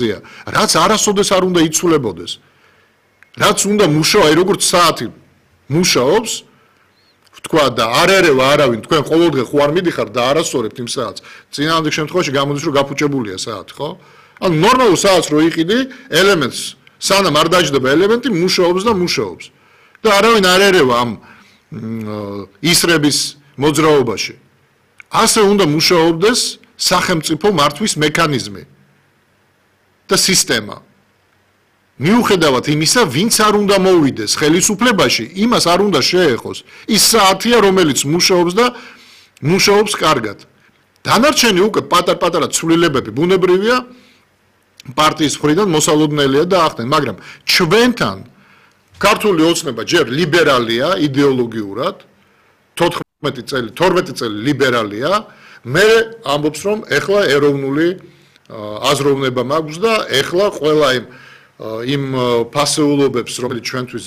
რაც არასოდეს არ უნდა იცვლებოდეს. რაც უნდა მუშაობა, როგორც საათი მუშაობს, თქვა და არერევა არავინ, თქვენ ყოველდღე ხო არ მიდიხარ და არასწორებთ იმ საათს. წინააღმდეგ შემთხვევაში გამოდის, რომ გაფუჭებულია საათი, ხო? ანუ ნორმალურ საათს რო იყიდი, ელემენტს, სანამ არ დაждდება ელემენტი, მუშაობს და მუშაობს. და არავინ არ ერევა ამ ისრების მოძრაობაში. ასე უნდა მუშაობდეს სახელმწიფო მართვის მექანიზმი და სისტემა. მიუხედავად იმისა, ვინც არ უნდა მოვიდეს ხელისუფლებაში, იმას არ უნდა შეეხოს. ის საათია, რომელიც მუშაობს და მუშაობს კარგად. დანარჩენი უკვე პატარ-პატარა ცვლილებები ბუნებრივია პარტიის მხრიდან მოსალოდნელია და ახდენ, მაგრამ ჩვენთან ქართული ოცნება ჯერ ლიბერალია იდეოლოგიურად, 12 წელი ლიბერალია, მე ამბობს რომ ეხლა ეროვნული აზროვნება მაქვს და ეხლა ყველა იმ ფასეულობებს, რომელიც ჩვენთვის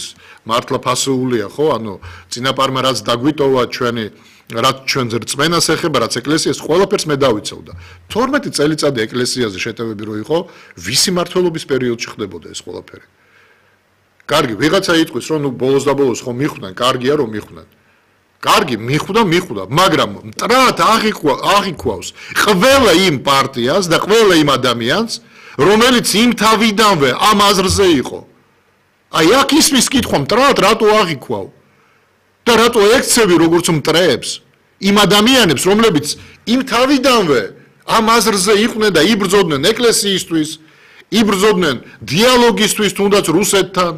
მართლა ფასეულია, ხო, ანუ წინაპარმა რაც დაგვიტოვა ჩვენი რაც ჩვენს რწმენას ეხება, რაც ეკლესიას ყველაფერს მე დავიცავდა. 12 წელიწადი ეკლესიაზე შეტევები რო იყო, ვისი მმართველობის პერიოდში ხდებოდა ეს ყველაფერი. კარგი, ვიღაცა იტყვის, რომ ნუ ბოლოს და ბოლოს ხომ მიხვდნენ, კარგია რომ მიხვდნენ. კარგი, მიხვდა, მაგრამ მტრად აღიქვავს ყველა იმ პარტიას და ყველა იმ ადამიანს, რომელიც იმ თავიდანვე ამ აზრზე იყო. აი, აქ ისმის კითხვა მტრად რატო აღიქვავ? და რატო ექცევი როგორც მტრებს იმ ადამიანებს, რომლებიც იმ თავიდანვე ამ აზრზე იყვნენ და იბრძოდნენ ეკლესიისთვის, იბრძოდნენ დიალოგისთვის, თუნდაც რუსეთთან.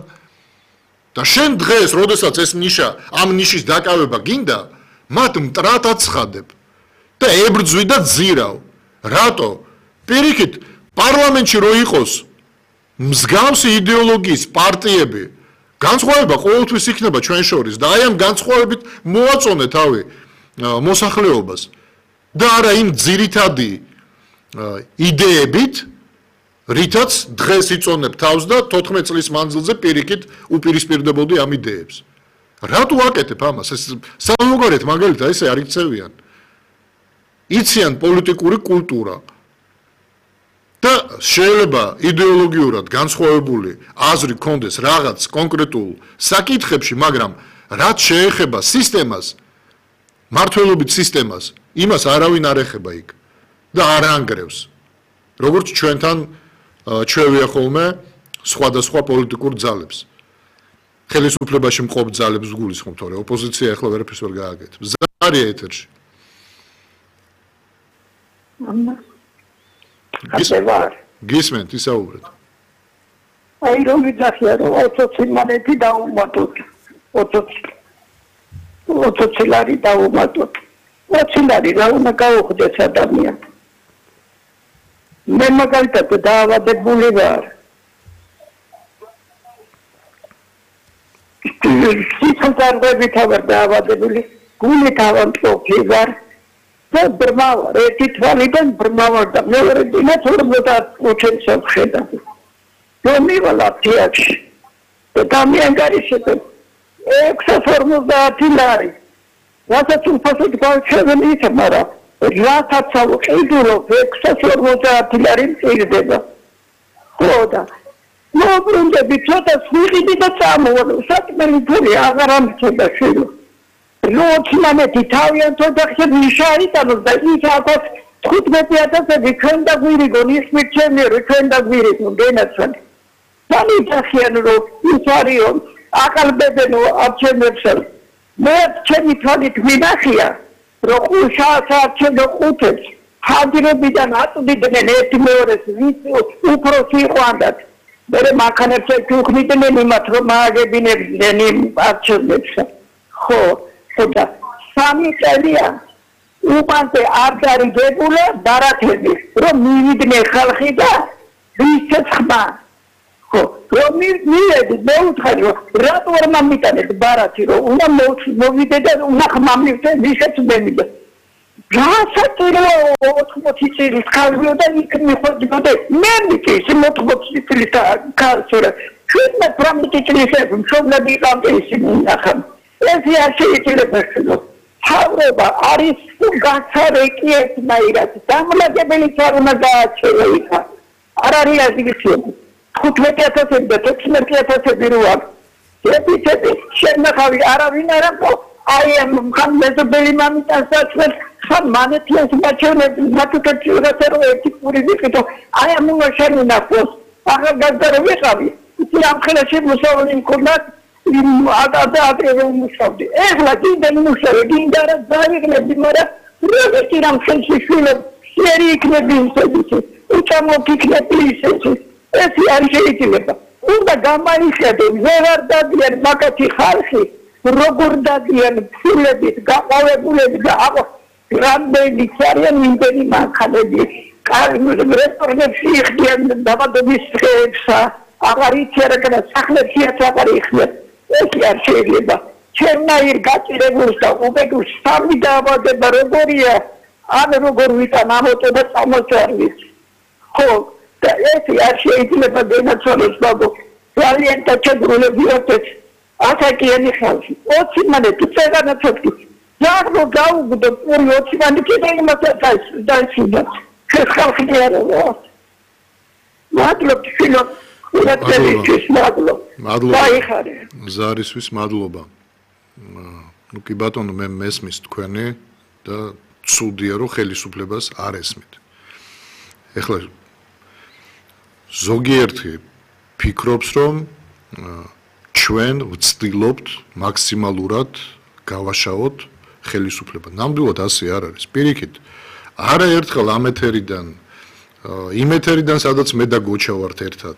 და შენ დღეს, როდესაც ეს ნიშა, ამ ნიშის დაკავება გინდა, მათ მტრად აცხადებ და ებრძვი და ძირავ. რატო? პირიქით, პარლამენტში რო იყოს მსგავსი იდეოლოგიის პარტიები, განსხვავება ყოველთვის იქნება ჩვენ შორის და აი ამ განსხვავებით მოაწონე თავი მოსახლეობას და არა იმ ძირითადი იდეებით, რითაც დღეს იწონებ თავს და 14 წლის მანძილზე პირიქით უპირისპირდებოდი ამ იდეებს. რატო აკეთებ ამას? ეს სამოგარეთ მაგალითად ესე არ იქცევიან. იციან პოლიტიკური კულტურა და შეიძლება იდეოლოგიურად განსხვავებული აზრი კონდეს რაღაც კონკრეტულ საკითხებში, მაგრამ რაც შეეხება სისტემას, მართლობით სისტემას, იმას არავინ არ ეხება იქ და არ ანგრევს. როგორც ჩვენთან ჩვევია ხოლმე სხვადასხვა პოლიტიკურ ძალებს. ხელისუფლებაში მყოფ ძალებს გულისხმობ, თორე ოპოზიცია ახლა ვერაფერს ვერ გააკეთებს. ზარია ეთერში. გისმენთ, ისაუბრეთ. აი რომ ვიძახია რომ 20 მანეთი დაუმატოთ. 20 ლარი დაუმატოთ. 20 ლარი რა უნდა გაუხდეს ადამიანს? მე მაგალითად დაავადებული ვარ. სიცოცხლეებით ვარ დაავადებული, გულით ავამტყოფი ვარ. და ბრმავარ, ერთი თვალიდან ბრმავარ და მეორე დინას 50 წელს ხედავ. რომ მივალა თეატრში. და დამიანგარიშებ 650 ლარი. რასაც უფასოდ გავჩევენ ის, მაგრამ რასაც ავყიდულობ 650 ლარი მწირდება. ხო და მოbrunდები ცოტა ვიყიდი და წამოვარ. საკმელი ფული აღარ ამწოდა შვილო. როთმანეთი თავიანთო და ხე მიშარიტანოს და ის აკაც 15000 ჩვენ და გვირიგონ ის მიჩემიერო ჩვენ და გვირიგონ გენაცვალე. სამიწახიან რომ ის არისო აკალბებენო არჩენებსა. მე ჩემი თვალით მინახია რომ ხუშასაც ხუთებს ჰადრებიდან აწვდიდნენ ერთი მეორეს ვის უფროსი ყვანდათ. მე მანქანებს ეკუხნიდნენ იმათ რომ მააგებინებდნენ იმ არჩევნებსა. ხო და 3 წელია უპანზე არ დარიგებულა დარათები რომ მივიდნენ ხალხი და ვისაც ხმა. ხო რომ მივედი მე უთხარი რომ რატო არ მომიტანეთ ბარათი რომ უნდა მოვიდე და უნდა ხმამივდე ვისაც მემიდა. გასაწირო 80 წლის ხალხი და იქ მიხვდებოდა მე მიწის 80 წლის კაცურა. ჩვენმა 18 წლის მშობლები იყავდა ისინი ნახა. ეს შეიძლება შეგო. თავრობა არის გასარეკი ერთნაირად. დამლაგებელი არ უნდა გააჩერა იქა. არ არის აზრისები 15,000 და 16,000 რო აქვს епитеты შენახავი არავინ არ აქვს აი ამ მეზობელი მამიტანსაც ხან მანეთიას მაჩვენებს მათუკეთიურასე რომ ერთი პური ვიყიდო აი ამ მოშენინახოს ახალგაზრდა რო ვიყავი იცი ამ ხელში მოსავლი მქონდა იმ ადრე მუშავდი ეხლა კიდე მუშავე კიდე რა დაიღნები მაგრამ როგორი რამ ხელში შვილებ სერი იქნები ისეთი უჩამოკიქნები ისეთი ეს არ შეიძლება უნდა გამაიხედო ვეღარ დადიან მაგათი ხალხი როგორ დადიან ფულებით გაყავებულები და რამდენი არიან იმდენი მანქანები რესტორნებში იხდიან დაბადების დღეებსა აღარ იციან სახლებშიაც აღარ იხდიან ეს არ შეიძლება ჩემნაირ გაჭირებულს და უბედურს სამი დაავადება როგორია ან როგორ ვიტან ამოტო და წამოწარვის ხო და ეს არ შეიძლება განაცვალოს ბაბო ძალიან დაჩაგრულებიათ ასაკიანი ხალხი 20 მანეთი წეგანაცოთი ზაგრო გაუგდო პური 20 მანეთი და იმასაც დაიწყდა ეს ხალხი არა მადლობ შილო მადლობა ზარისთვის მადლობა ну კი ბატონო მე მესმის თქვენი და ცუდია რომ ხელისუფლებას არ ესმით ეხლა ზოგიერთი ფიქრობს რომ ჩვენ ვცდილობთ მაქსიმალურად გავაშაოთ ხელისუფლება ნამდვილად ასე არ არის პირიქით არაერთხელ ამ ეთერიდან იმ ეთერიდან სადაც მე და გოჩა ვართ ერთად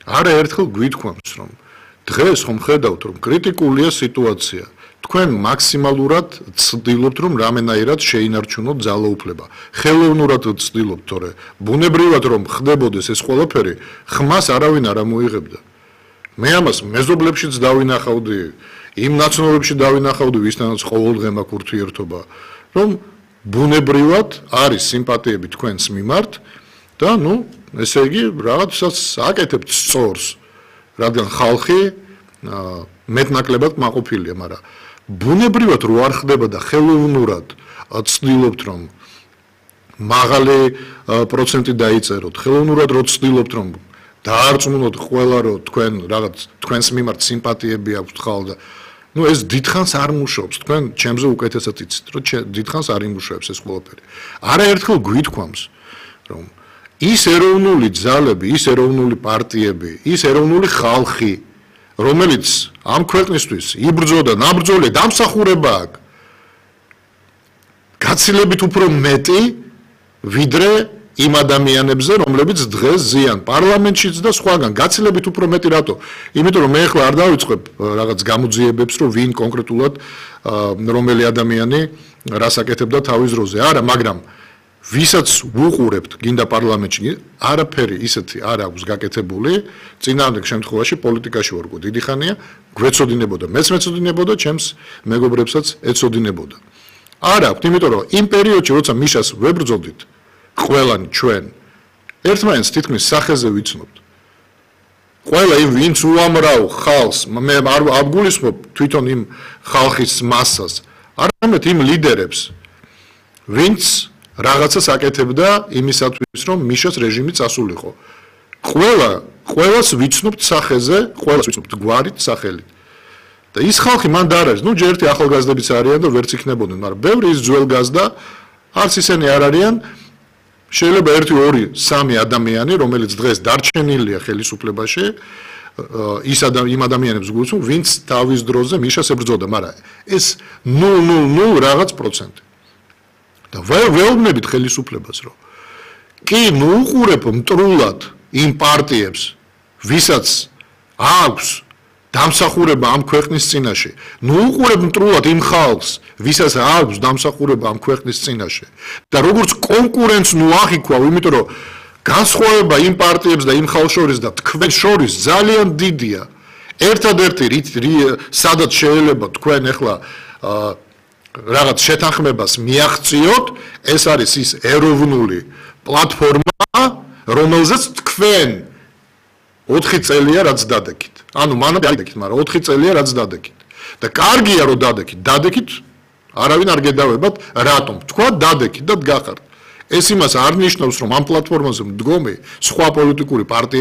არაერთხელ გვითქვამს რომ დღეს ხომ ხედავთ რომ კრიტიკულია სიტუაცია თქვენ მაქსიმალურად ცდილობთ რომ რამენაირად შეინარჩუნოთ ძალაუფლება ხელოვნურად ცდილობთ თორე ბუნებრივად რომ ხდებოდეს ეს ყველაფერი ხმას არავინ არ ამოიღებდა მე ამას მეზობლებშიც დავინახავდი იმ ნაცნობებში დავინახავდი ვისთანაც ყოველდღე მაქვს ურთიერთობა რომ ბუნებრივად არის სიმპათიები თქვენს მიმართ და ნუ ესე იგი რაღაცას აკეთებთ სწორს რადგან ხალხი მეტნაკლებად მაყოფილია მაგრამ ბუნებრივად რო არ ხდება და ხელოვნურად ცდილობთ რომ მაღალი პროცენტი დაიწეროთ ხელოვნურად რო ცდილობთ რომ დაარწმუნოთ ყველა რომ თქვენ რაღაც თქვენს მიმართ სიმპათიები აქვთ ხალხ და ну ეს დიდხანს არ მუშაობს თქვენ ჩემზე უკეთესად იცით რომ დიდხანს არ იმუშავებს ეს ყველაფერი არაერთხელ გვითქვამს რომ ის ეროვნული ძალები ის ეროვნული პარტიები ის ეროვნული ხალხი რომელიც ამ ქვეყნისთვის იბრძოდა ნაბრძოლე დამსახურება აქვს გაცილებით უფრო მეტი ვიდრე იმ ადამიანებზე რომლებიც დღეს ზიან პარლამენტშიც და სხვაგან გაცილებით უფრო მეტი რატო იმიტომ რომ მე ახლა არ დავიწყებ რაღაც გამოძიებებს რომ ვინ კონკრეტულად რომელი ადამიანი რას აკეთებდა თავის დროზე არა მაგრამ ვისაც ვუყურებთ გინდა პარლამენტში არაფერი ისეთი არ აქვს გაკეთებული წინააღმდეგ შემთხვევაში პოლიტიკაში ვარ დიდი ხანია გვეცოდინებოდა მეც მეცოდინებოდა ჩემს მეგობრებსაც ეცოდინებოდა არ აქვს იმიტომ რომ იმ პერიოდში როცა მიშას ვებრძოდით ყველანი ჩვენ ერთმანეთს თითქმის სახეზე ვიცნობთ ყველა იმ ვინც უამრავ ხალხს მე არ გულისხმობ თვითონ იმ ხალხის მასას არამედ იმ ლიდერებს ვინც რაღაცას აკეთებდა იმისათვის რომ მიშას რეჟიმი წასულიყო ყველას ვიცნობთ სახეზე ყველას ვიცნობთ გვარით სახელით და ის ხალხი მან და არ არის ნუ ჯერ ერთი ახალგაზრდებიც არიან და ვერც იქნებოდნენ მაგრამ ბევრი ის ძველგაზრდა არც ისინი არ არიან შეიძლება 1-2-3 ადამიანი რომელიც დღეს დარჩენილია ხელისუფლებაში იმ ადამიანებს გულისხმობ ვინც თავის დროზე მიშას ებრძოდა მაგრამ ეს 0.00 რაღაც პროცენტი და ვეუბნებით ხელისუფლებას რომ კი მოუყურებ მტრულად იმ პარტიებს ვისაც აქვს დამსახურება ამ ქვეყნის წინაშე მოუყურებ მტრულად იმ ხალხს ვისაც აქვს დამსახურება ამ ქვეყნის წინაშე და როგორც კონკურენტს ნუ აღიქვავ იმიტომ რომ განსხვავება იმ პარტიებს და იმ ხალხს შორის და თქვენ შორის ძალიან დიდია ერთადერთი სადაც შეიძლება თქვენ ახლა რაღაც შეთანხმებას მიაღწიოთ ეს არის ის ეროვნული პლატფორმა რომელზეც თქვენ 4 წელია რაც დადექით ანუ მანამდე არ დადექით მაგრამ 4 წელია რაც დადექით და კარგია რომ დადექით არავინ არ გედავებათ რატომ თქვა დადექით და გახართ ეს იმას არ ნიშნავს, რომ ამ პლატფორმაზე მდგომი სხვა პოლიტიკური პარტია